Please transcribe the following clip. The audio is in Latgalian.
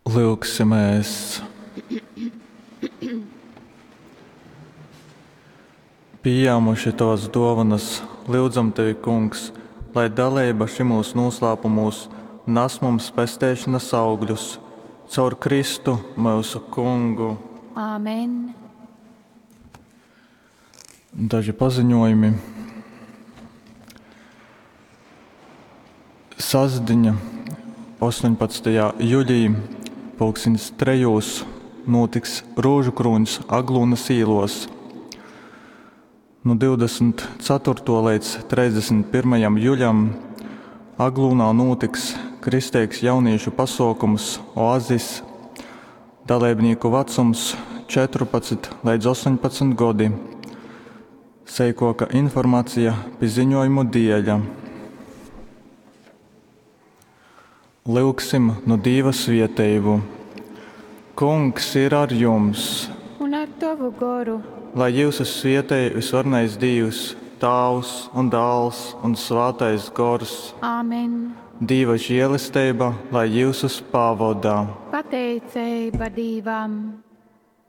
Lyugsimēs! Pījāmuši Tovas dōvonas, lyudzam Tevi, Kungs, lai daleiba šymūs nūslāpumūs nas mums pesteišonas augļus. Caur Kristu, myusu Kungu. Amen. Daži paziņojumi. Sastdiņa, 18. juļī, pulkstens trejūs nūtiks Rūžukrūņs Aglūnas īlos. Nu 24. leidz 31. juļam Aglūnā nūtiks kristeigs jaunīšu pasuokums Oazis. Daleibnīku vacums 14 leidz 18 godi. Seikuoka informacija pi ziņojumu dieļa. Lyugsim nu Dīva svieteibu. Kungs ir ar jums! Un ar tovu goru. Lai jyusus svietej vysvarenais Dīvs, Tāvs un Dāls un Svātais Gors. Amen. Dīva žielesteiba lai jyusus pavoda. Pateiceiba Dīvam.